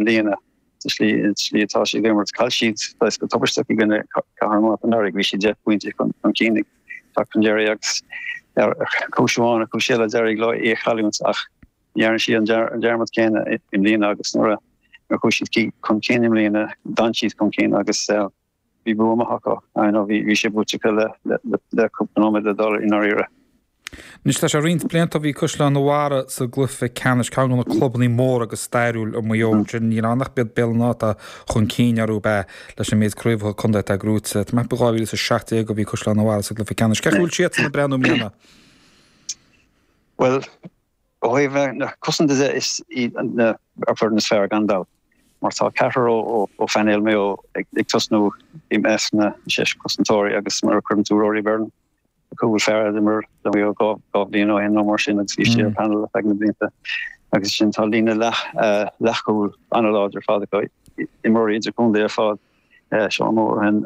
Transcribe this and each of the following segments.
mbliana sa slí slí atá siad ag imirt. Chaill siad saghas go tubaisteach i gcoinne Cathair an Mhárta anuraidh, bhí siad 10 bpointe chun cinn ag teacht chun deiridh agus ar chúis amháin nó cúis eile d'éirigh leo í a chailliúint ach ní dhearna siad an dearmad céanna i mbliana agus nuair a chuaigh siad chun cinn i mbliana d'fhan siad chun cinn agus bhí bua maith acu. I know bhí sé buaite acu le cúpla nóiméad le dul i ndáiríre. Anois tá sé roinnt blianta ó bhí Caisleán an Bharraigh sa gcluiche ceannais, ceann de na clubanna móra agus stairiúil i Maigh Eo ansin. Níl ann ach b'iad Béal an Átha atá chun cinn orthu ab ea leis an méid craobhacha contae atá gnóite. Tá mé ag ceapadh 2017 a bhí Caisleán an Bharraigh sa gcluiche ceannais. Cén chaoi a bhfuil siadsan ag breathnú i mbliana? Bhuel, ó thaobh na cosanta de is iad an fhoireann is fearr gan dabht mar tá ceathrar ó phainéal Mhaigh Eo ag tosnú i measc na seis cosantóirí agus mura gcuireann tú Rory Byrne cúl fear a d'imir do Mhaigh Eo 2 bhliain ó shin nó mar sin agus bhí sé ar panel ar feadh na blianta agus sin tá líne leath leathchúil an-láidir ar fad acu imreoirí idirchontae ar fad Seán Moran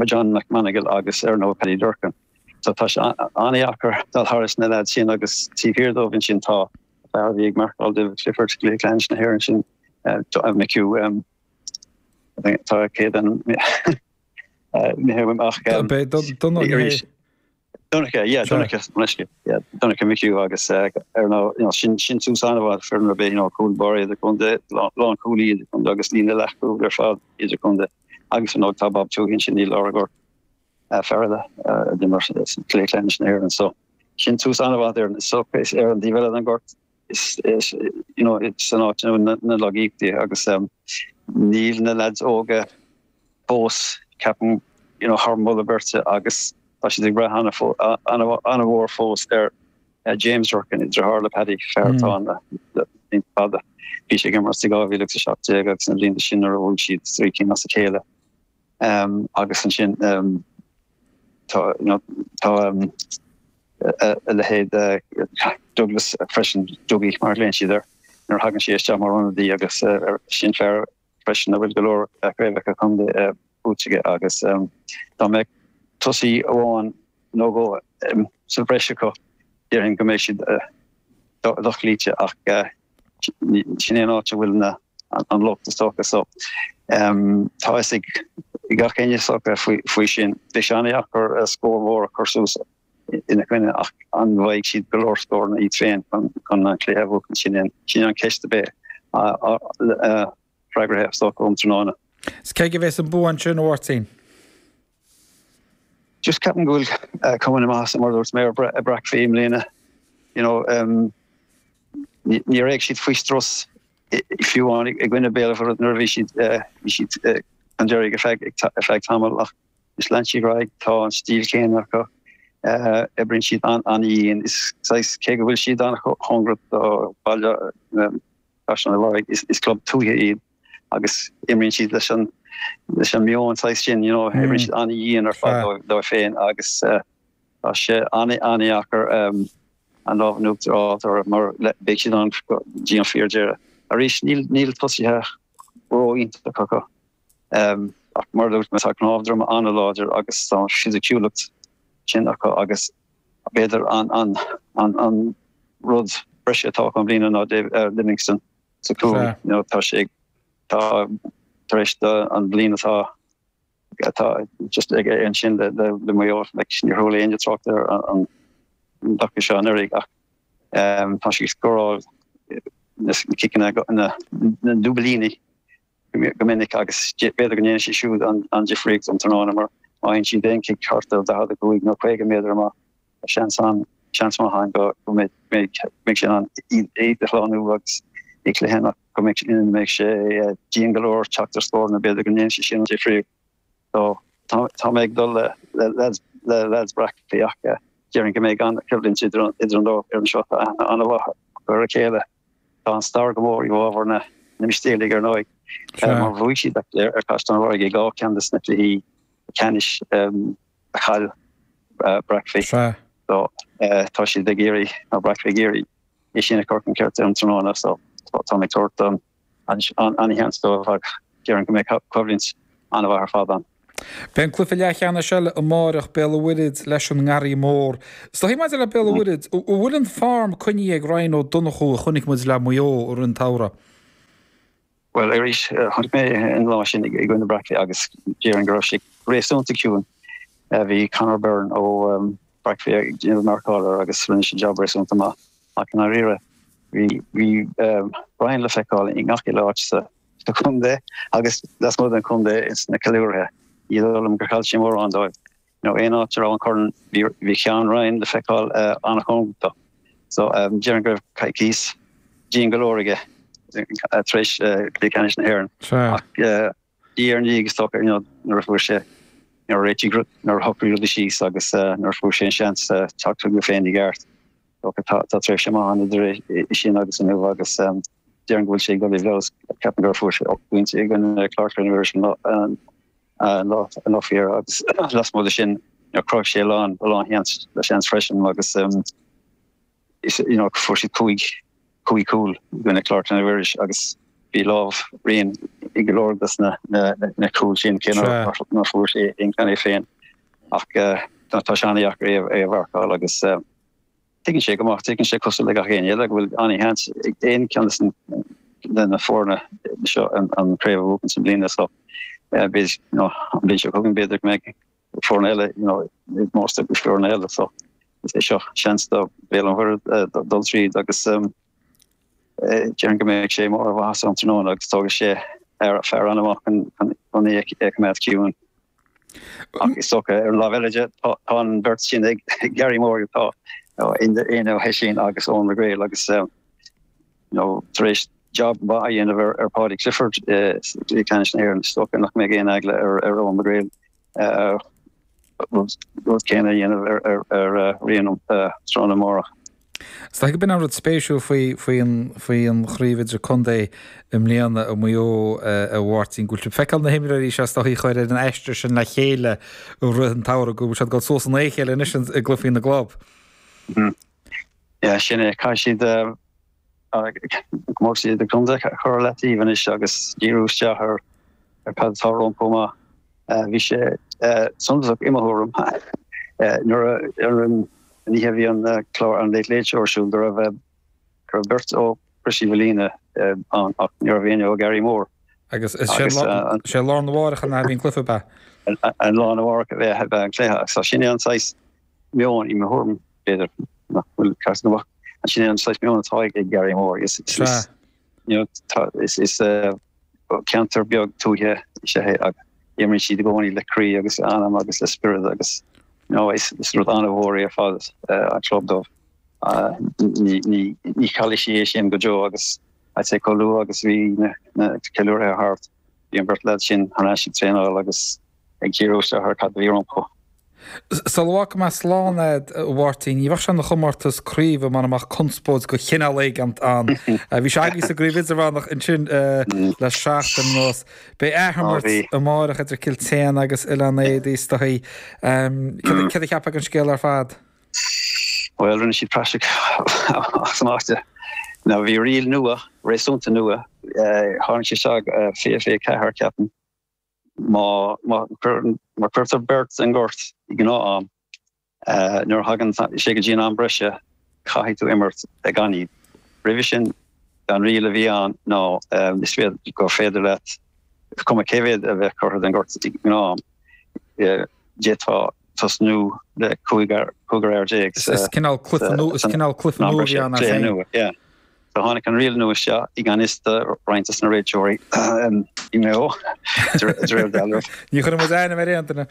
John McMonagle agus ar ndóigh Paddy Durcan. So tá sé an-dheacair dul thairis na leaids sin agus taobh thiar dóibh ansin tá fear a bhí ag marcáil David Clifford i gcluiche ceannais na hÉireann sin McHugh tá céad an Donncha, yeah, Donncha, yeah, Donncha McHugh agus ar ndóigh, you know, sin sin tús an-mhaith foireann ar bith, you know, cúl báire idirchontae, lánchúlaí idirchontae agus líne leathchúil ar fad idirchontae agus ar ndóigh tá Bob Tuohy ansin i lár an ghoirt, fear eile a d'imir sa chluiche ceannais na hÉireann. So sin tús an-mhaith ar so is ar an dtaobh eile den ghort is is you know it's an áit na na lagaíochtaí agus um, níl na lads óga fós ceapaim you know thar moladh beirte agus tá siad ag brath an-mhór fós ar uh, James Durcan deartháir le Paddy fear atá ann le blianta fada. Bhí sé ag imirt i 2017 agus na blianta sin nuair a bhuaigh siad trí cinn as a chéile. Um, agus ansin um, tá you know, tá um, a leithéid Douglas freisin, Dougie mar a ghlaonn siad air, nuair a thagann sé isteach mar ionadaí agus sin fear freisin a bhfuil go leor craobhacha contae buaite aige agus dá mbeadh tosaí amháin nó dhó sa bhreis acu, déarfainn go mbeidh siad dochloíte ach sin é an áit a bhfuil an locht is dócha. So tá fhios ag gach éinne is dócha faoi sin. Beidh sé an-dheacair scór mhór a chur suas ina gcoinne ach an bhfaighidh siad go leor scóranna iad féin chun an cluiche a bhuachan? Sin sin an cheist a bheidh freagraithe is dócha um tráthnóna. Is cé aige a bheas an bua ansin, a Mháirtín? Just ceapaim go bhfuil cuma na maitheasa mar a dúirt mé ar Bracfí i mbliana. You know, níor éag siad faoi strus fiú amháin i gcoinne Béal Mhuirthead nuair a bhí siad bhí siad chun deiridh ar feadh ar feadh tamaill ach is lean siad ar aghaidh, tá an stíl chéanna acu, oibríonn siad an-dhian. Is saghas cé go bhfuil siad an-chóngarach do bhaile Chaisleán an Bharraigh, is club tuaithe iad agus imríonn siad leis an leis an meon saghas sin, you know, oibríonn siad an-dhian ar fad dóibh féin agus tá sé an-an-dheacair an lámh in uachtar a fháil orthu mar beidh siad ann go dtí an fíordheireadh. Arís níl níl tosaithe ró-iontach acu ach mar a dúirt mé tá cnámh droma an-láidir agus tá an fisiciúlacht sin acu agus b'fhéidir an an an an rud breise atá acu i mbliana ná David Livingston sa chúl. You know, tá sé tá tar éis an bhliain atá atá just aige ansin le le le Maigh Eo like níor chuala éinne trácht ar an an dtaca seo anuraidh ach um, tá sé ag scóráil na ciceanna na na dúbailíní go minic agus b'fhéidir go ndéanfaidh sé siúd an difríocht um tráthnóna mar má fhaigheann siad aon chic thart ar 45 nó 50 méadar amach tá seans ann, seans maith ann go mbeidh sé in ann iad a shlánú agus i gcluiche nach go mbeidh ina mbeidh sé dian go leor teacht ar scóranna b'fhéidir go ndéanfaidh sé sin an difríocht. So tá mé ag dul le le le leaids Bracfí ach déarfainn go mbeidh an-choimhlint idir idir an dá fhoireann seo tá aithne an-mhaith acu ar a chéile. Tá an stair go mór i bhfabhar na Mistéalaigh ar ndóigh mar bhuaigh siad ar Chaisleán an Bharraigh i dhá cheann de na cluichí ceannais a chaill Bracfí. So tá siad ag iarraidh, nó Bracfí ag iarraidh é sin a chur chun cirt um tráthnóna so tá mé ag tabhairt an-sheans dóibh ach déarfainn go mbeidh coimhlint an-mhaith ar fad ann. Beidh an cluiche leathcheannais eile amáireach, Béal an Mhuirthead leis an nGarraí Mór. Is dóigh maidir le Béal an Mhuirthead, an bhfuil an form coinnithe ag Ryan Ó Donnchú a chonaic muid le Maigh Eo i rith an tsamhraidh? Bhuel, arís, chonaic mé an lá sin i gcoinne Brackley agus déarfainn go raibh sé réasúnta ciúin. Bhí Conor Byrne ó Brackley ag déanamh marcáil air agus rinne sé jab réasúnta maith. Ach i ndáiríre, bhí bhí Ryan le feiceáil i ngach uile áit sa chontae agus lasmuigh den chontae ins na ceiliúraithe. Ní dóigh liom gur chaill sé mórán dóibh. You know, aon áit a raibh an corn, bhí ceann Ryan le feiceáil an-chóngarach dó. So, déarfainn go raibh coicís dian go leor aige tar éis Cluiche Ceannais na hÉireann. Ach diaidh ar ndiaidh is dócha, you know, nuair a fuair sé, nuair a réitigh, nuair a shocraigh rudaí síos agus nuair a fuair sé an seans teacht chuige féin i gceart, dócha tá tréimhse maith ann idir sin agus inniu agus déarfainn go bhfuil sé ag dul i bhfeabhas. Ceapaim gur fuair sé 8 bpointe i gcoinne Clár Clainne Mhuiris an an lá faoi dheireadh agus lasmuigh de sin chruthaigh sé a lán a lán sheans le seans freisin agus is you know fuair siad 5 5 cúl i gcoinne Clár Clainne Mhuiris agus bhí lámh Rian i go leor des na na na cúil sin cé nár fuair sé aon cheann é féin ach tá sé an-dheacair é é a mharcáil agus Tuigeann sé go maith, tuigeann sé cosúil le gach éinne eile go bhfuil an-sheans ag aon cheann de na foirne seo an chraobh a bhuachan sa mbliana so b'fhéidir you know an bhliain seo chugainn b'fhéidir go mbeidh foirne eile you know ag mórtas le foirne eile so is é seo seans do Bhéal an Mhuirthead dul tríd agus déarfainn go mbeidh sé i mbarr a mhaitheasa an tráthnóna agus tógfaidh sé fear an-mhaith chun é a choimeád ciúin. Ach is dócha, ar an lámh eile de, tá an bheirt sin ag Garrymore, tá Éanna Ó hOisín agus Eoin McGrail agus you know, tar éis job maith a dhéanamh ar, ar Paudie Clifford i gcluiche ceannais na hÉireann, is dócha nach mbeidh aon eagla ar, ar Eoin McGrail rud céanna a dhéanamh ar, ar, ar Rian tráthnóna amárach. Is dóigh gurb in an rud spéisiúil faoi faoi an faoi an chraobh idir-contae i mbliana i Maigh Eo, a Mháirtín, go bhfuil sibh ag feiceáil na himreoirí seo is dóigh a chuir ar an aistear sin le chéile i rith an tsamhraidh, go bhfuil siad ag dul suas in aghaidh a chéile anois i gcluichí na gclub. Yeah, sin é. Caithfidh siad comórtas idir-chontae a chur ar leataobh anois agus díriú isteach ar cad atá rompu amach. Bhí sé suntasach i mo thuairim nuair a ar an oíche a bhí an clár an Late Late Show ar siúl go raibh go raibh beirt ó Crois Uí Mhaoilíona ann ach ní raibh éinne ó Garrymore. Agus is sé lá arna mhárach an a bhí an cluiche ab ea? An lá arna mhárach a bhí an cluiche agus tá sin é an saghas meon i mo thuairim b'fhéidir nach bhfuil ceart go maith sin é an saghas meon atá ag Garrymore. Is is ceantar beag tuaithe is ea é agus imríonn siad i gcónaí le croí agus le anam agus le spiorad agus you know is rud an-mhór é ar fad an club dóibh. Ní ní chaillfidh siad é sin go deo agus I'd say chomh luath agus bhí na ceiliúrtha thart bhí an bheirt leaid sin thar n-ais ag traenáil agus ag díriú isteach ar cad a bhí rompu. Sula bhfágfaidh mé slán agat, a Mháirtín, ní bheadh sé ina chomórtas craoibhe mura mbeadh conspóid de chineál éigint ann. Bhí sé agaibh sa gcraobh idirmheánach ansin le seachtain anuas. Beidh athimirt amárach idir Cill tSéadhna agus Oileán Éadaí is dóigh. Céard a cheapfá den scéal ar fad? Bhuel, rinne siad praiseach as amach de. Now bhí riail nua, réasúnta nua, tháinig sé isteach 2024, ceapaim. Má chuirtear beirt den ghort i ngnáth-am, nuair a thagann sé go dtí an am breise, caithfidh tú imirt gan iad. Roimhe sin, an riail a bhí ann ná is féidir gur féidir leat, is cuma cé mhéad a bheadh curtha den ghort i ngnáth-am, d'fhéadfá tosnú le cúigear fhear déag sa. Is cineál cluiche nua a bhí ann as féin. So tháinig an riail nua isteach i ngan fhios do roinnt des na réiteoirí i Maigh Eo, de réir dealraimh. Ní chuirfidh muid ainm ar aon duine.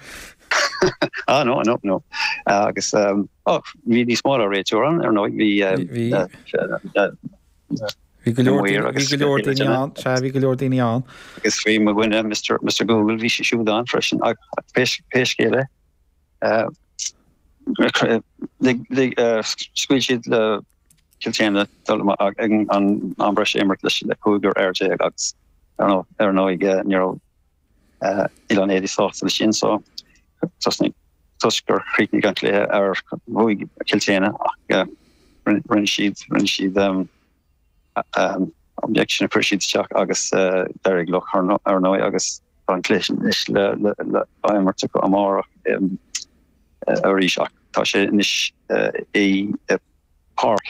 Ah, no, no, no. Agus, oh, bhí níos mó ná réiteoir ann, ar ndóigh, bhí... Bhí. Bhí go leor daoine, bhí go leor daoine ann, sea, bhí go leor daoine ann. Agus bhí mo dhuine, Mr. Mr. Google, bhí sé siúd ann freisin, ach pé scéal é, scaoil siad le Cill tSéadhna dul ag an am breise a imirt leis le cúigear fhear déag agus ar ndóigh ní raibh Oileán Éadaí sásta leis sin so tosnaigh toisc gur chríochnaigh an cluiche ar bhuaigh Cill tSéadhna ach rinne siad rinne siad objection a chuir siad isteach agus d'éirigh leo ar ndóigh agus tá an cluiche sin anois le le á imirt acu amárach arís ach tá sé anois i Páirc.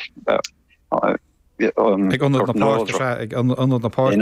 Ag ionad na páirce, sea, ag ionad na páirce.